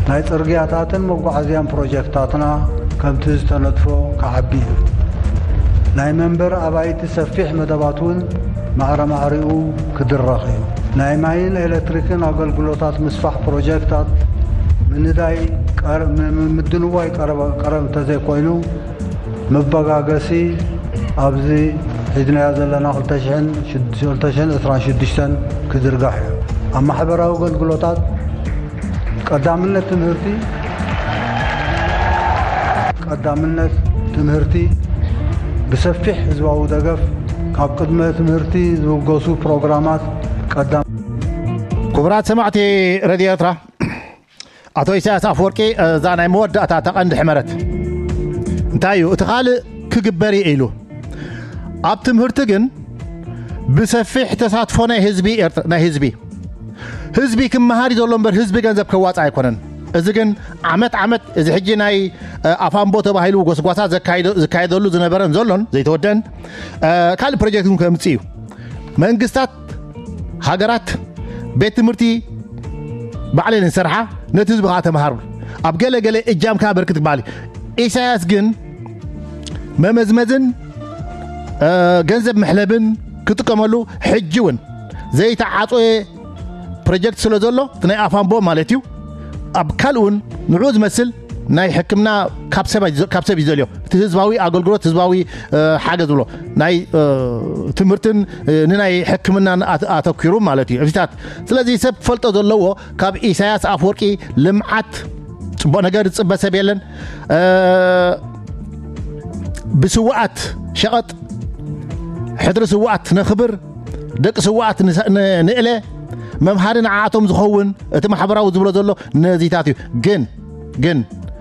ናይ ጽርግያታትን መጓዓዝያን ፕሮጀክታትና ከምቲ ዝተነድፎ ክዓቢ እዩ። ናይ መንበር ኣባይቲ ሰፊሕ መደባት እውን ማዕረ ማዕሪኡ ክድረኽ እዩ። ናይ ማይን ኤሌክትሪክን ኣገልግሎታት ምስፋሕ ፕሮጀክታት ምንዳይ ቀር-፣ ም-፣ ም-፣ ምድንዋይ ቀረብ፣ ቀረብ እንተዘይኮይኑ፣ መበጋገሲ ኣብዚ ሒዝናዮ ዘለና ክልተ ሽሕን ዕስራን ሽዱሽተን ክዝርጋሕ እዩ። ኣብ ማሕበራዊ ኣገልግሎታት ቀዳምነት ትምህርቲ፣ ቀዳምነት ትምህርቲ ብሰፊሕ ህዝባዊ ደገፍ ካብ ቅድመ ትምህርቲ ዝብገሱ ፕሮግራማት ቀዳም ክቡራት ሰማዕቲ ሬድዮ ኤርትራ፣ ኣቶ ኢሳያስ ኣፈወርቂ፣ እዛ ናይ መወዳእታ እታ ቀንዲ ሕመረት እንታይ እዩ? እቲ ካልእ ክግበር እዩ ኢሉ። ኣብ ትምህርቲ ግን ብሰፊሕ ተሳትፎ ናይ ህዝቢ ኤርትራ፣ ናይ ህዝቢ፣ ህዝቢ ክመሃር እዩ ዘሎ እምበር ህዝቢ ገንዘብ ከዋጽእ ኣይኮነን። እዚ ግን ዓመት ዓመት እዚ ሕጂ ናይ፣ እ፣ ኣፋምቦ ተባሂሉ ጎስጓሳ ዘካይዶ-፣ ዝካየደሉ ዝነበረን ዘሎን ዘይተወደን፣ እ፣ ካልእ ፕሮጀክት እውን ከምጽእ እዩ። መንግስታት ሃገራት ቤት ትምህርቲ ባዕለን ዝሰርሓ፣ ነቲ ህዝቢ ከዓ ተምሃሩ፣ ኣብ ገለ ገለ እጃምካ ኣበርክት ክበሃል እዩ። ኢሳያስ ግን መመዝመዝን፣ እ፣ ገንዘብ መሕለብን ክጥቀመሉ ሕጂ እውን ዘይተዓጾየ ፕሮጀክት ስለ ዘሎ፣ እቲ ናይ ኣፋምቦ ማለት እዩ። ኣብ ካልእ እውን ንዕኡ ዝመስል ናይ ሕክምና ካብ ሰብ፣ ካብ ሰብ እዩ ዘልዮ። እቲ ህዝባዊ ኣገልግሎት፣ ህዝባዊ፣ እ፣ ሓገዝ ብሎ ናይ፣ እ፣ ትምህርትን፣ እ፣ ንናይ ሕክምናን ኣት-፣ ኣተኲሩ ማለት እዩ። እዚታት፣ ስለዚ ሰብ ክፈልጦ ዘለዎ፣ ካብ ኢሳያስ ኣፈወርቂ ልምዓት ጽቡቕ ነገር ዝጽበ ሰብ የለን። እ፣ ብስውኣት ሸቐጥ ሕድሪ ስውኣት ነኽብር፣ ደቂ ስውኣት ንሰ-፣ ን-፣ ንእለ፣ መምሃሪ ንዓኣቶም ዝኸውን እቲ ማሕበራዊ ዝብሎ ዘሎ ነዚታት እዩ። ግን፣ ግን